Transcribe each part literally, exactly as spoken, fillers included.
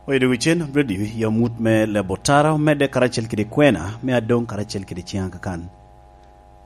Oyedo wicen, Brady, i omut me Labotara omedde karacel kede kwena me adoŋ karacel kede ciŋ akakan.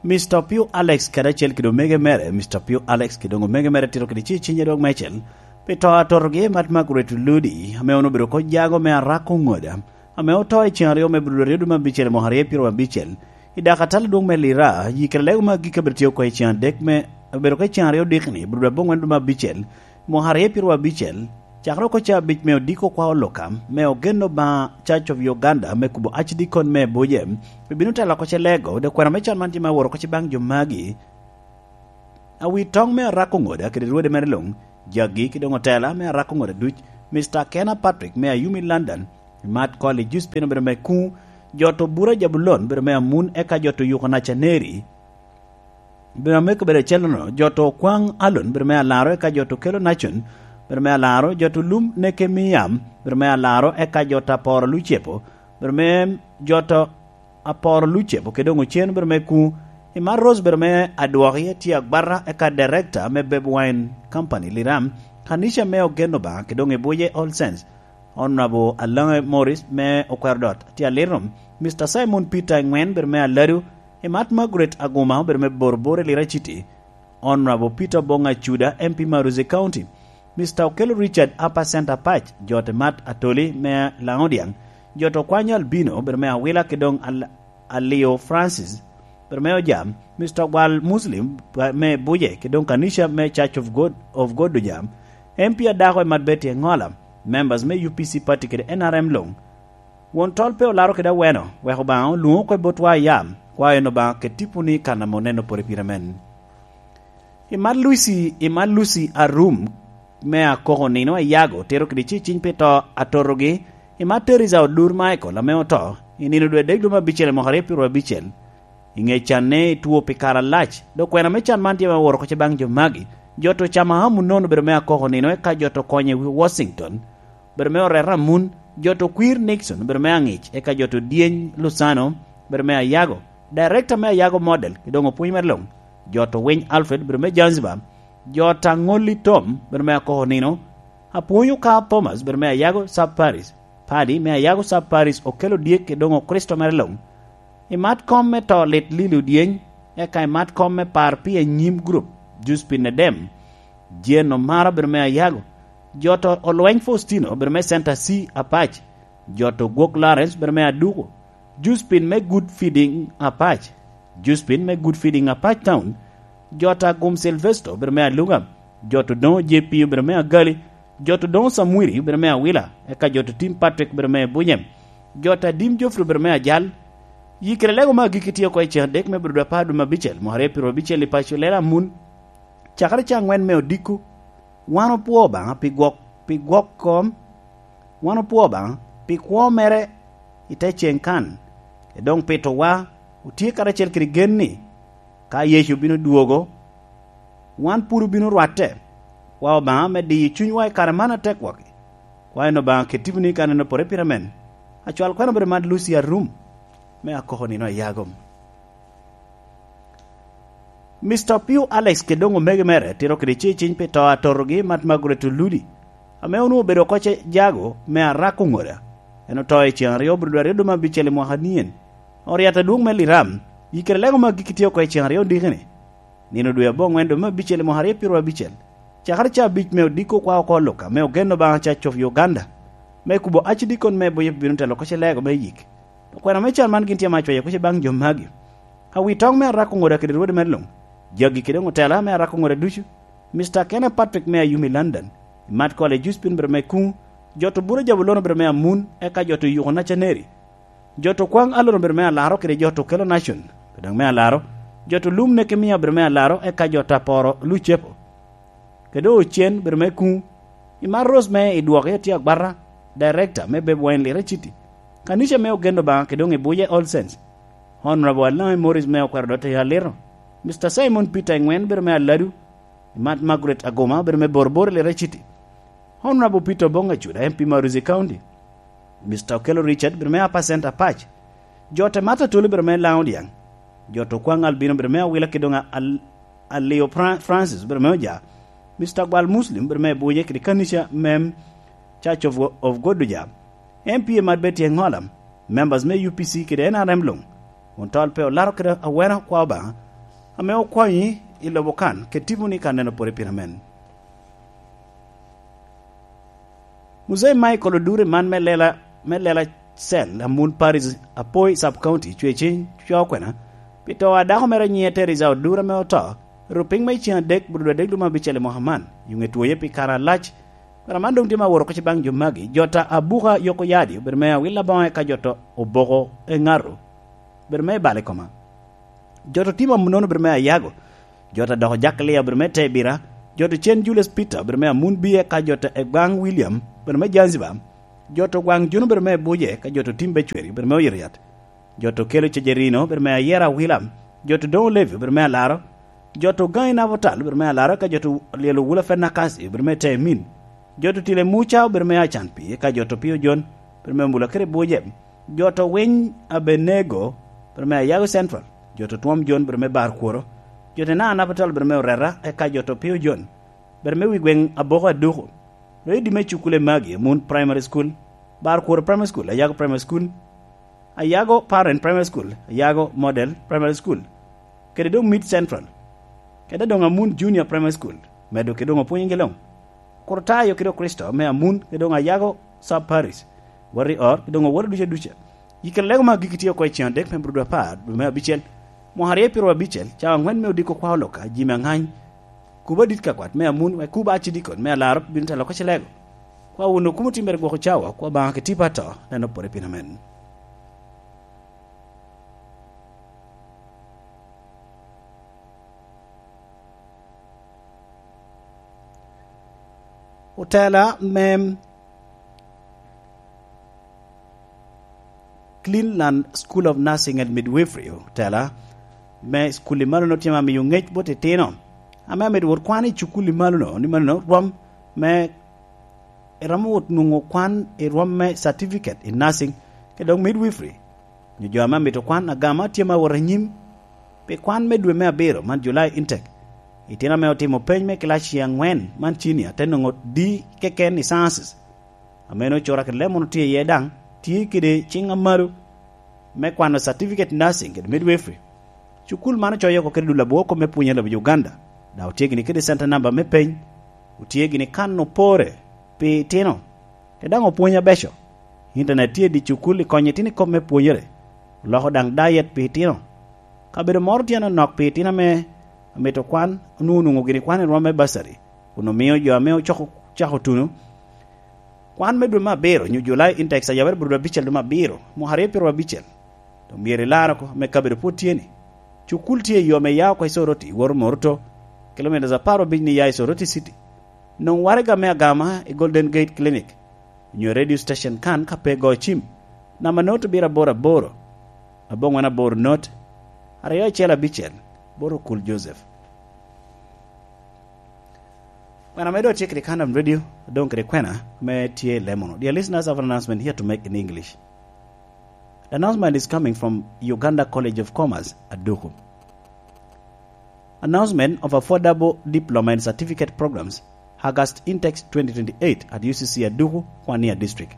Mister Pio Alex karacel kede omege mere, Mister Pio Alex kede omege mere tito kede ci cinye dok mecel, pi to atotogi mat Margaret Ludi, ame onwoŋo obedo oko jago me arako ŋoda, ame oto i ceŋ aryo me Abril aryo dwe me abicel i mwaka aryo pyero abicel, i dak atal adwoŋ me Lira, yikere lego me agikki abedo tye oko i ceŋ adek me, abedo oko i ceŋ aryo dikni, Abril aboŋwen dwe me abicel, mwaka aryo pyero abicel, cakere oko cabic me odiko kwa oloka, me ogen Obaŋa Church of Uganda, me kubo Archdeacon me Buje, ebino telo oko ce lego, dok kwena me can man tye me aworo oko ce baŋ jo magi. Awi toŋ me arako ŋoda kede rwode mere luŋ, jagi ki doŋ otela me arako ŋoda duc, Mister Kena Patrick me Ayumi London, Matt Cole Juspin obedo me kuŋ, Joto Bura Jabulon obedo me Amun, eka Joto Yuko Nacaneri, obedo me kobedo acel-lono, Joto Okwaŋ Alon obedo me Alaro, eka Joto Kelo Nacon obedo me Alaro, Joto Lum Neke Miyam obedo me Alaro, eka Joto Aporo Lucepo obedo me Joto Aporo Lucepo kede doŋ Ocen obedo me kuŋ, Imat Rose obedo me Adwoki, tye agwata, eka Director me Beb Wine Company Liram, Kanisha me Ogen Obaŋa kede doŋ Ibuje All Saints, Honorable Alaŋe Morris me Okwerodot, tye alito, Mister Simon Peter Eŋwen obedo me Aladu, Imat Margaret Aguma obedo me Boroboro i Lira City, Honorable Peter Oboŋ Acuda, M P Maruzi County, Mister Okello Richard, Upper Centre Patch, Jote Matt Atoli me Laŋodiaŋ, Joto Kwanyo Albino obedo me Awila kede doŋ Al-, Alio Francis obedo me Ojam, Mister Ogwal Muslim me Buje kede doŋ Kanisha me Church of God, of God Ojam, M P adako Imat Betty Eŋola, members me U P C party kede N R M luŋ, Won tol pe olaro kede aweno, wek Obaŋa olwoŋ oko i botwa a yam, kwayo en Obaŋa ket tiponi i kan ame oneno pore pire men. Imat Lucy, Imat Lucy Arum me Akoko Nino Ayago, tero kede ci ciny pi to atotogi, Imat Teresa Odur Michael ame oto, i nino dwe adek dwe me abicel i mwaka aryo pyero abicel. I ŋe canne i two pi kare alac, dok kwena me can man tye me woro oko ce baŋ jo magi, Joto Camahamu nono obedo me Akoko Nino, eka Joto Konye Washington, obedo me Oreta Amun, Joto Kwir Nixon obedo me Aŋic, eka Joto Dyeny Lusano obedo me Ayago, Director me Ayago Model, kede doŋ opwony mere luŋ, Joto Winy Alfred obedo me Zanzibar, Joto Aŋolli Tom obedo me Akoko Nino, Apwony Okar Thomas obedo me Ayago Sub Paris, Padi me Ayago Sub Paris Okello Dyek kede doŋ Okricito mere luŋ, Imat kom me to lit Lili Odyeny, eka imat kom me par pi anyim gurup, Juspin Edem, Jane Omara obedo me Ayago, Joto Olweny Faustino obedo me Center C Apac, Joto Gwok Lawrence obedo me Aduku, Juspin me Good Feeding Apac, Juspin me Good Feeding Apac Town, Joto Agum Silvesto obedo me Aluga, Joto Doŋo J P obedo me Agali, Joto Doŋo Samwiri obedo me Awila, eka Joto Tim Patrick obedo me Bunyem, Joto Adim Geoffrey obedo me Ajal. Yikere lego me agikki tye oko i cen adek me Abril apar dwe me abicel, mwaka aryo pyero abicel i paco Lela Amun, cakere ca aŋwen me odiko. Wan opwoo Obaŋa pi gwok, pi gwok kom, wan opwoo Obaŋa pi kwo mere i te ceŋ kan, e doŋ pitowa, otye karacel kede gen ni, ka Yecu bino dwogo, wan pwod obino rwatte. Kwa Obaŋa me diyo cunywa i kare man atek wagi. Kwa en Obaŋa ket tiponi i kan en opore pire men. Acwal kwena obedo Mad Lucy Arum, me Akoko Nino Ayago. Mister Pio Alex kede doŋ omege mere tito kede ci ciny pi to atotogi Mad Margaret Oludi, ame onwoŋo obedo oko ce jago me Arako Ŋoda. En oto i ceŋ aryo Abril aryo dwe me abicel i mwaka nien. Oriat adwoŋ me Liram, yikere lego me agikki tye oko i ceŋ aryo dikini. Nino dwe aboŋwen dwe me abicel i mwaka aryo pyero abicel, cakere ca abic me odiko kwa oko Luka me ogen Obaŋa Church of Uganda, me kubo Archdeacon me Buye bino telo oko ce lego me yik. Okwena me can man gin tye ma acwayo kuc i baŋ jo magi. Awi toŋ me Arako Ŋoda kede rwode mere luŋ, jagi kede ŋutela me Arako Ŋoda ducu, Mister Kenneth Patrick me Ayumi London, Matt Cole Juspin obedo me kuŋ, Joto Bura Jabulon obedo me Amun, eka Joto Yuko Nacaneri, Joto Kwaŋ Alon obedo me Alaro kede Joto Kelo Nacon obedo me Alaro, Joto Lum Nekemia obedo me Alaro, eka Joto Aporo Lucepo kede Ocen obedo me kuŋ. Imat Rose me Idwoki tye agwata, Director me Beb Wine Lira City, Kanisha me Ogen Obaŋa kede doŋ Ibuje All Saints, Honorable Alaŋe Morris me Okwero Dote Alito, Mister Simon Peter Eŋwen obedo me Aladu, Imat Margaret Aguma obedo me Boroboro Lira City, Honorable Peter Oboŋ Acuda, M P Maruzi County, Mister Okello Richard obedo me Upper Centre Patch, Jote Martha Tuli obedo me Laŋo Dyaŋ, Joto Kwaŋ Albino obedo me Awila kede doŋ Al-, Alio Fra-, Francis obedo me Oja, Mister Gwal Muslim obedo me Buje kede Kanisha mem Church of, of Goduja, M P Emad Betty Engola, members me U P C kede N R M luŋ, kun tol pe olaro kede awena kwa Obaŋa, ame okonyi i lobo kan, kede tiponi kan neno pore pien amen. Muzei Michael Odure man me lela, me lela cel Amun Paris, Apoi Sub County, cwe ciny, cwa okwena, pi to a dako mere nyiŋe Teresa Odure ame oto, ru piny me ceŋ adek, buto adek lum abicel i mwaka man, i ŋe twoye pi kare alac. Kara man doŋ tye ma woro koc baŋ jo magi, jota Abuka Yoko Yadi, obedo me Awil Aboŋo, eka jota Oboko Eŋato, obedo me Bal i koma. Jota Timo Amunono, obedo me Ayago, jota Doko Jack Lia, obedo me Tebira, jota Cen Julius Peter, obedo me Amun Biye, eka jota Egwaŋ William, obedo me Zanzibar, jota Ogwaŋ Juno, obedo me Buje, eka jota Tim Becweri, obedo me Oyito Yat, jota Okelo Cejerino, obedo me Ayera Awila, jota Doŋo Levi, obedo me Alaro, jota Ogaŋi Nabutal, obedo me Alaro, eka jota Lyel Owula Fenakasi, obedo me Temin, jota Tile Muca, obedo me Acan Pi, eka jota Opio Jon, obedo me Mula kede Buje, jota Winy Abenego, obedo me Ayago Central, jota Twom Jon, obedo me Bar Kworo, jota Naa Nabutal, obedo me Oreta, eka jota Opio Jon, obedo me wi gweŋ Aboko Aduku. Redi me cukule magi, Amun Primary School, Bar Kworo Primary School, Ayago Primary School, Ayago Parent Primary School, Ayago Model Primary School, kede doŋ Mid Central, kede doŋ Amun Junior Primary School, medo kede doŋ opwonyogi luŋ. Kurtayo kede Okricito me Amun kede doŋ Ayago Sub Parish, wot i ot kede doŋ owoto duca duca. Yikki lego me agikki tye oko i ceŋ adek me Brudu apar, dwe me abicel, mwaka aryo pyeraryo abicel, cawa aŋwen me odiko kwa oloka, Jimi Aŋany, kubo adit ka kwat me Amun, wek kubo acidikon me Alaro bino telo oko cilego. Kwa wun okumo timmere gwoko cawa, kwa Obaŋa ki tipo ato, neno pore pien amen. Otela me Cleveland School of Nursing and Midwifery, otela me cukul i malono tye ma miyo ŋec bot itino, ame amito wot kwan i cukul i malono, ni malono rwom me, iromo wot nwoŋo kwan i rwom me certificate in nursing, kede dok midwifery, nyo jo ame amito kwan agama tye ma wot anyim pi kwan me dwe me abiro man, July intake. Itino ame otimo peny me kilaci aŋwen man, cinia, te nwoŋo D keken i sciences. Ame en ocura kede leb mono tye iye daŋ, tye kede ciŋ amalo me kwano certificate nursing kede midwifery. Cukul man ocoyo oko kede dul abwor kop me pwony i lobo Uganda, daŋ otye gini kede center number me peny, otye gini kan opore pi itino, kede daŋ opwony abeco. Internet tye i di cukul i konyo itino i kop me pwonyere, oloko daŋ diet pi itino. Kabedo moro tye anonok pi itino ame amito kwan, onwoŋo nwoŋo gini kwan i rwom me basari, kun omio jo ame ocoko cako tuno kwan me dwe me abiro nyo July intake, ayabere bot dwe abicel dwe me abiro, mwaka aryo pyeraryo abicel. Dok myero ilar oko, me kabedo pwod tye ni. Cukul tye i yo me ya oko i Soroti, iwoto Moruto, kilometres apar obic ni ya i Soroti City. Nwoŋ waraga me agama i Golden Gate Clinic, nyo radio station kan ka pe go cim. Namba not abiro aboro aboro, abongwen aboro not, aryo acel abicel, bot Okul Joseph. Kwena me dok tye kede Kandam Radio, doŋ kede kwena me tye i lemono. Dear listeners, I have an announcement here to make in English. The announcement is coming from Uganda College of Commerce, Aduku. Announcement of affordable diploma and certificate programs, August intakes twenty twenty-eight at U C C Aduku, Kwania District.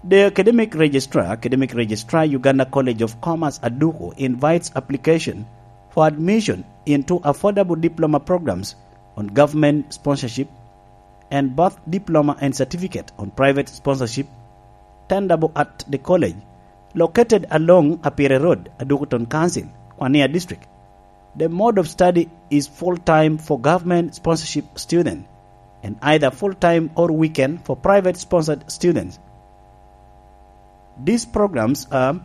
The academic registrar, academic registrar, Uganda College of Commerce, Aduku, invites application for admission into affordable diploma programs on government sponsorship and both diploma and certificate on private sponsorship tenderable at the college located along Apire Road, Aduku Town Council, Kwania District. The mode of study is full-time for government sponsorship student and either full-time or weekend for private sponsored students. These programs are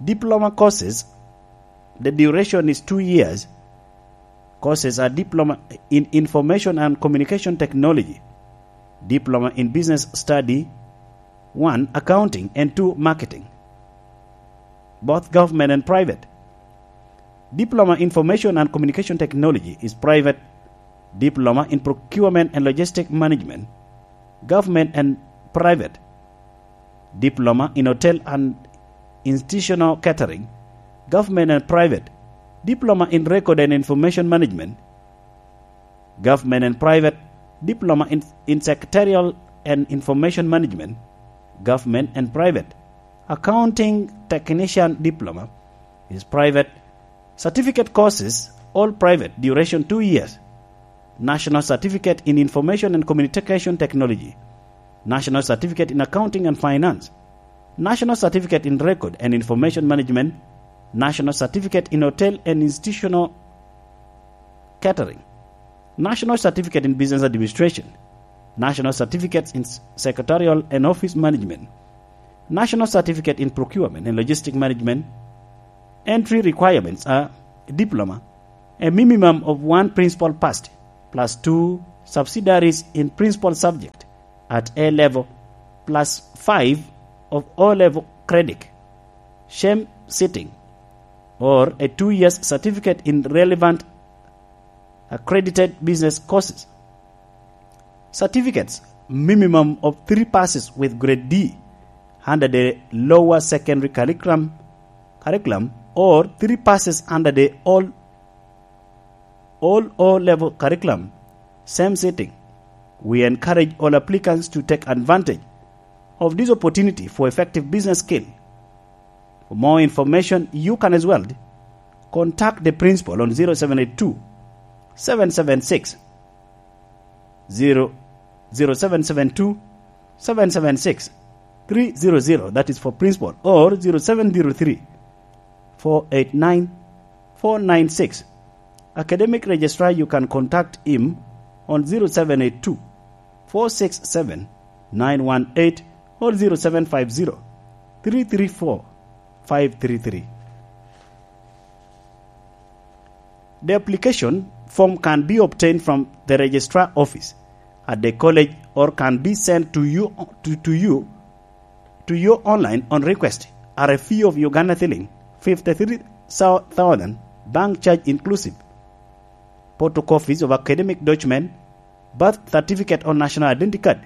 diploma courses. The duration is two years. Courses are diploma in information and communication technology, diploma in business study, one, accounting, and two, marketing, both government and private. Diploma Information and Communication Technology is private. Diploma in Procurement and Logistic Management, government and private. Diploma in Hotel and Institutional Catering, government and private. Diploma in Record and Information Management, Government and private, diploma in, in secretarial and information management, government and private, accounting technician diploma is private, certificate courses, all private, duration two years, national certificate in information and communication technology, national certificate in accounting and finance, national certificate in record and information management, national certificate in hotel and institutional catering, national certificate in business administration, national certificates in s-, secretarial and office management, national certificate in procurement and logistic management. Entry requirements are diploma, a minimum of one principal passed, plus two subsidiaries in principal subject at A level, plus five of O level credit, sham sitting, or a two years certificate in relevant accredited business courses. Certificates, minimum of three passes with grade D under the lower secondary curriculum, curriculum or three passes under the all, all O level curriculum, same sitting. We encourage all applicants to take advantage of this opportunity for effective business skill. For more information, you can as well contact the principal on zero seven eight two, seven seven six, zero, zero seven seven two, seven seven six, three zero zero, that is for principal, or zero seven zero three, four eight nine, four nine six. Academic registrar, you can contact him on zero seven eight two, four six seven, nine one eight or zero seven five zero, three three four, five three three. The application form can be obtained from the registrar office at the college or can be sent to you, to, to you, to you online on request at a fee of Uganda shilling fifty-three thousand, bank charge inclusive. Photocopies of academic document, birth certificate or national identity card,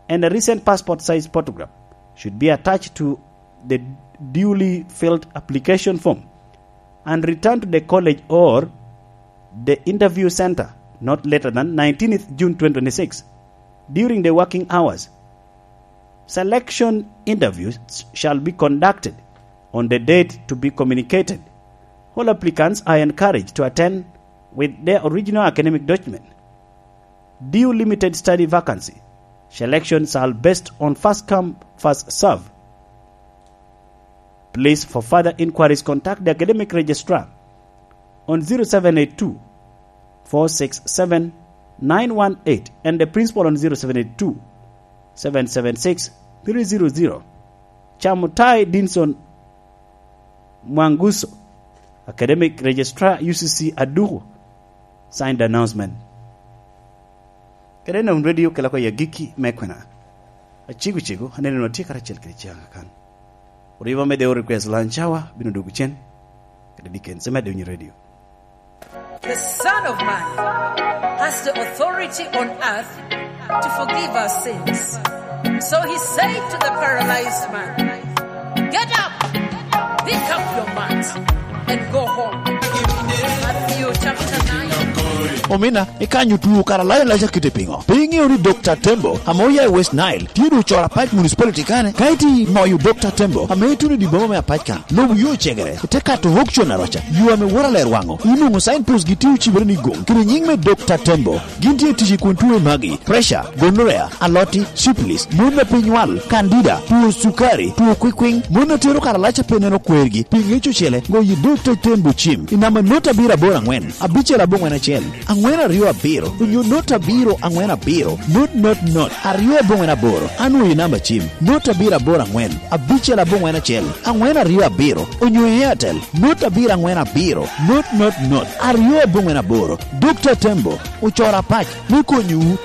and a recent passport size photograph should be attached to the duly filled application form and returned to the college or the interview center not later than nineteenth June twenty twenty-six during the working hours. Selection interviews shall be conducted on the date to be communicated. All applicants are encouraged to attend with their original academic document. Due limited study vacancy. Selections are based on first come, first serve. Please, for further inquiries, contact the academic registrar on zero seven eight two, four six seven, nine one eight and the principal on zero seven eight two, seven seven six, three zero zero. Chamutai Dinson Mwanguso, academic registrar, U C C Aduku, signed the announcement. Kede en radio kela ko i agikki me kwena. Acego cego, aneno ni watye karacel kede Ciaŋ Akan. Oriba me Deo Request Lunch Hour bino dwogo cen, kede Dickens me Adonyo Radio. The Son of Man has the authority on earth to forgive our sins. So he said to the paralyzed man, "Get up, pick up your mat, and go home." Matthew chapter nine. Omina, ikanyo tuo kara layo laca kite piŋo? Pe iŋeo ni Dokta Tembo, ame oya i West Nile, tye doŋ ocoro apac municipality kane? Ka iti moyo Dokta Tembo, ame ituno i dye boma me apac kan, lobo yo ocegere, ite kato auction aroca, yo ame wora ler waŋo, inwoŋo signpost gi tye ocibere ni goŋ, kede nyiŋ me Dokta Tembo. Gin tye tic i kun tuo i magi, pressure, gonorrhea, aloti, syphilis, mon a pe nywal, candida, tuo cukari, tuo kwikwiŋ, mon a tero karalac a pe neno kwergi, pi ŋec ocele, goyo Dokta Tembo cim i namba not abiro aboro aŋwen, abicel aboŋwen acel, aŋwen aryo abiro, onyo not abiro aŋwen abiro, not not not, aryo aboŋwen aboro, anwoyo i namba cim, not abiro aboro aŋwen, abicel aboŋwen acel, aŋwen aryo abiro, onyo i Airtel, not abiro aŋwen abiro, not not not, aryo aboŋwen aboro. Dokta Tembo, ocoro apac me konyowu.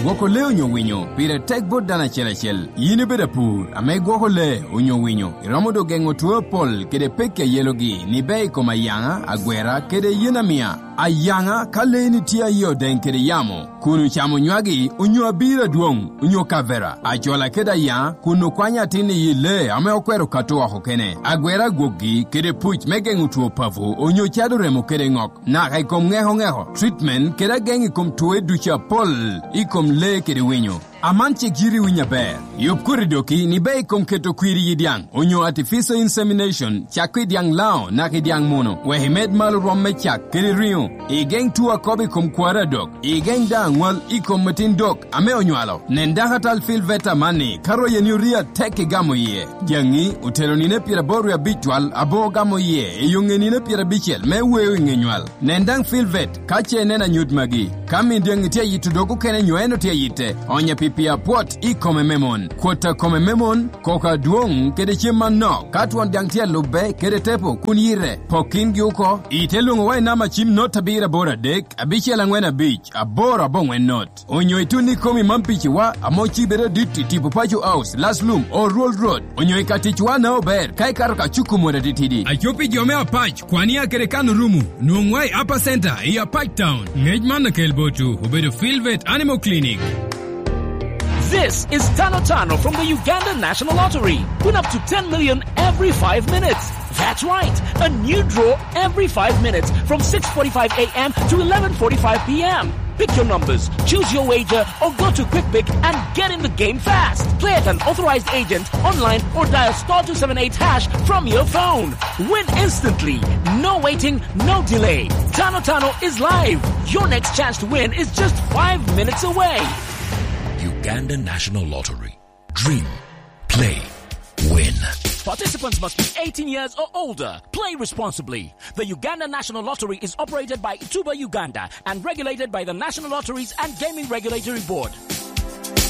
Gwoko lee onyo winyo pire tek bot dano acel acel. Yin ibedo apur ame igwoko lee onyo winyo, iromo doŋ geŋo two apol kede pekki a yelogi ni bea i kom ayaŋa, agwera, kede yen amia. Ayaŋa, ka leeni tye aye odeŋ kede yamo, kun ocamo nywagi, onyo abiro adwoŋ, onyo kavera, acola kede ayaŋa, kun okwanyo atin i yi lee ame okwero kato oko kene, agwero agwokgi, kede puc me geŋo two papo, onyo cado remo kede ŋok, naka i kom ŋeko ŋeko, treatment, kede ageŋ i kom twoe ducu apol, i kom lee kede winyo. Aman cik yiti winyo aber. Yub koti doki ni ber i kom keto kwir i yi dyaŋ, onyo artificial insemination, cak i dyaŋ Lango naka i dyaŋ Muno, wek imed malo rwom me cak kede riŋo. Igeŋ two akobo i kom kwaro adok. Igeŋ daŋ aŋwal i kom atin dok ame onywalo. Nen dakatal Phil Veta amanni, ka royeni orii atek igamo iye. Dyaŋi otelo nino pyeraboro wie abic twal aboŋo gamo iye i yo ŋe nino pyerabicel me weo i ŋe nywal. Nen daŋ Phil Vet ka ce ineno anyut magi. Ka min dyaŋi tye ayito dog okene nyo en otye ayitte, onye pi pii apwot i kome me mon. Kwot a kome me mon, koko adwoŋ kede cem manok. Ka twon dyaŋ tye alubbe kede tepo kun yite, pok kingi oko. Ite lwoŋowa i namba cim not abiro aboro adek, abicel aŋwen abic, aboro aboŋwen not. Onyo itun i komi man piciwa, ame ocibe adit i tipo Paco House, Laslum, Oruol Road. Onyo i ka ticwa na ober, ka ikato ka cuku mot atitidi. Aco pi jo me Apac, Kwania kede Kano Rumu, nwoŋwa i Upper Center, i Apac Town. Ngec man akel botwu, obedo Philvet Animal Clinic. This is Tano Tano from the Uganda National Lottery. Win up to ten million every five minutes. That's right, a new draw every five minutes from six forty-five a m to eleven forty-five p m. Pick your numbers, choose your wager, or go to Quick Pick and get in the game fast. Play at an authorized agent, online, or dial star two seven eight hash from your phone. Win instantly. No waiting, no delay. Tano Tano is live. Your next chance to win is just five minutes away. Uganda National Lottery. Dream. Play. Win. Participants must be eighteen years or older. Play responsibly. The Uganda National Lottery is operated by Tuba Uganda and regulated by the National Lotteries and Gaming Regulatory Board.